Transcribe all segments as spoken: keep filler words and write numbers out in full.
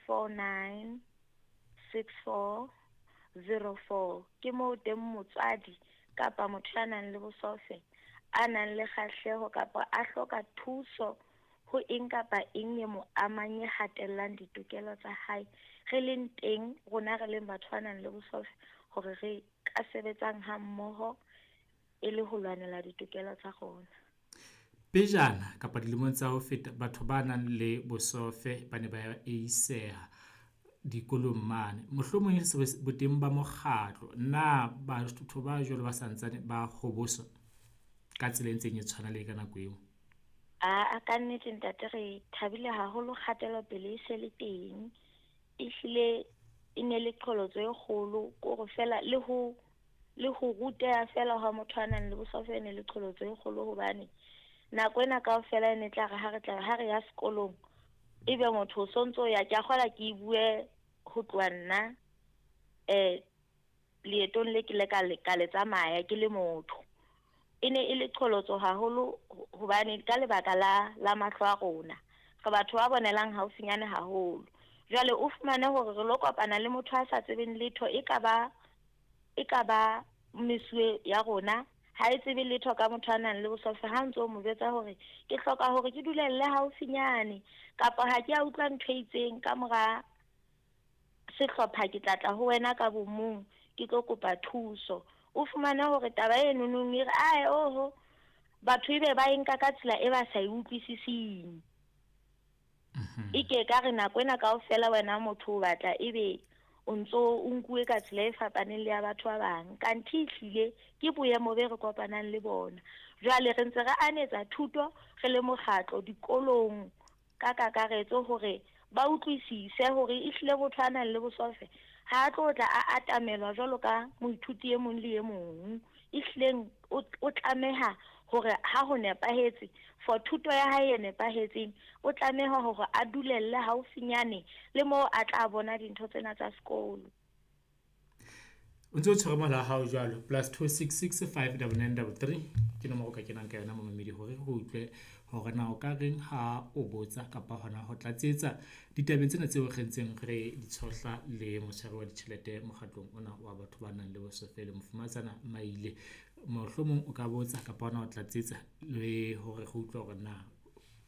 four nine six four zero four. Ke moo teng motswadi kapa motho ya nang le bosofe a nang le kgahleho kapa a hloka thuso ho eng kapa eng e mo amang e hatellang ditokelo tsa hae, re leng teng rona re leng batho ba nang le bosofe hore re ka sebetsang ha mmoho e le ho lwanela ditokelo tsa rona. Pejana kapa dilemong tsa ho feta, batho ba nang le bosofe ba ne ba eiseha dikolong mane. Mohlomong e se boteng ba mokgatlo, na batho ba jwalo ba santsane ba hoboswa ka tsela e ntseng e tshwana le ka nako eo? Aa, ka nnete ntate, re thabile haholo kgatelopele e se le teng. Ehlile e ne le qholotso e kgolo, kore fela le ho le ho ruteha fela ha motho a nang le bosofe e ne le qholotso e kgolo, hobane nako ena kaofela e ne tla re ha re tla ha re ya sekolong ebe motho o sontso ya ke a kgola ke bue ho tloha nna eh leetong le ke le ka le ka le tsamaya ke le motho. E ne e le qholotso haholo hobane ka lebaka la la mahlo a rona re batho ba bonelang haufinyane haholo. Jwale o fumane hore re lo kopana le motho a sa tsebeng letho, e ka ba e ka ba mesuwe ya rona, ha e tsebe letho ka motho a nang le bosofe. Ha ntso mo jwetsa hore ke hloka hore ke dulelle haufinyane kapa ha ke a utlwa ntho e itseng ka mora sehlopha, ke tla tla ho wena ka bomong ke tlo kopa thuso. O fumane hore taba e nonong e re ae oho, batho ebe ba e nka ka tsela e ba sa e utlwisising. E ke ka re nako ena kaofela wena motho o batla ebe o ntso o nkuwe ka tsela e fapaneng le ya batho ba bang, kanthe ehlile ke boemo be re kopanang le bona. Jwale re ntse re anetsa thuto re le mokgatlo dikolong ka kakaretso hore ba utlwisise hore ehlile motho a nang le bosofe ha a tlo tla a atamelwa jwalo ka moithuti e mong le e mong. Ehlileng o o tlameha hore ha ho nepahetse for thuto ya hae e nepahetseng, o tlameha hore a dulelle haufinyane le moo a tla bona dintho tsena tsa sekolo. O ntse o tshwere mohala wa hao jwalo, plus two six six five double nine double three ke nomoro o ka kenang ka yona momamedi hore re utlwe hore na o ka reng ha o botsa kapa hona ho tlatsetsa ditabeng tsena tseo re ntseng re di tshohla le motshwari wa ditjhelete mokgatlong ona wa batho ba nang le bosofe le Mofumahatsana Maile. Mohlomong o ka botsa kapa hona ho tlatsetsa le hore re utlwe hore na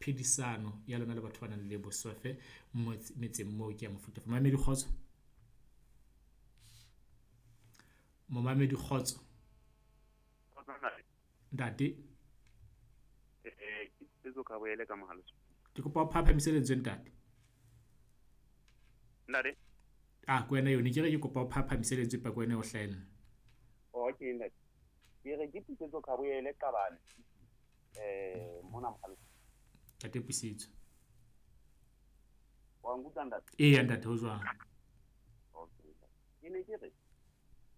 phedisano ya lona le batho ba nang le bosofe metseng moo ke ya mofuta ofe. Momamedi kgotso. Momamedi kgotso. Ntate. Eh, ke Tsetso ka boele ka mohala. Ke kopa o phaphamise lentswe ntate. Ntate. Ah, ke wena yone, ke re ke kopa o phaphamise lentswe pa ke wena o hlahella. Okay ntate. Ke re ke Tsetso ka boele Qabane. Eh, mona mohala. Ntate Pusetso. Wa nkutlwa ntate? Eya ntate, ho jwang? Okay. Ke ne ke re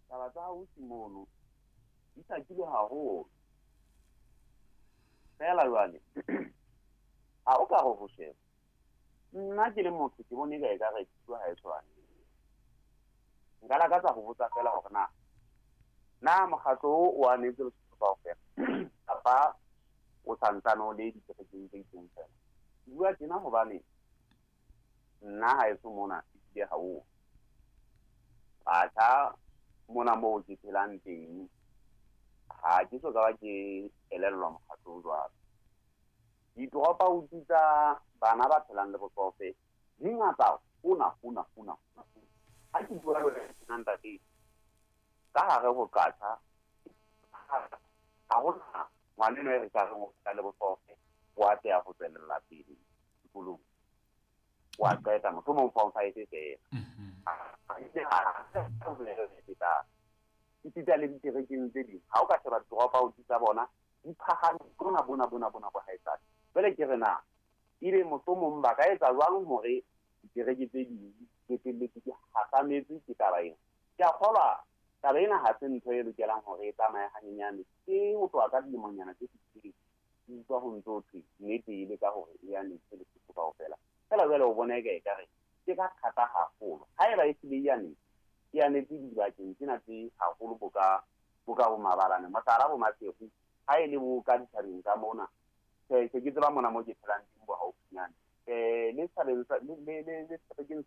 taba tsa ausi mono di hlakile haholo. Fela jwale ha o ka re ho sheba, nna ke le motho ke bone eka ekare thuto ha e tshwane. Nka lakatsa ho botsa fela hore na na mokgatlo o o anetse Lesotho kaofela kapa o santsane o le dikerekeng tse itseng fela. Ke bua tjena hobane nna haeso mona ehlile ha o batjha mona moo ke phelang teng, ha ke so ka ba ke elellwa mokgatlo o jwalo. Di-drop out tsa bana ba phelang le bosofe di ngata hona hona hona. Ha ke bua le wena ntate, ka hare ho Qacha ha hona ngwaneno e re ka reng o phela le bosofe o atleha ho tswelella pele sekolong, wa qeta mohlomong form five feela. Esita le dikerekeng tse ding, ha o ka sheba drop out tsa bona di phahame bona bona bona bona bo haesale. Jwale ke re na ebe mohlomong ba ka etsa jwang hore dikereke tse ding di qetelletse di hahametse ke taba ena? Ke a kgolwa taba ena ha se ntho e lokelang hore e tsamaye hanyenyane. Ke ho tloha ka dilemonyana tse fetileng ke utlwa ho ntso thwe nnete e le ka hore e anetse Lesotho kaofela. Fela jwale o bona eka ekare ke ka thata haholo. Haeba e hlile e anetse, e anetse dibakeng tsena tse haholo bo ka bo ka bo mabalane, mohlala bo Maseru, ha e le bo ka dithabeng tsa mona. Se ke tseba mona mo ke phelang teng bo haufinyane. Eh, le setjhabeng sa le le le sebakeng sena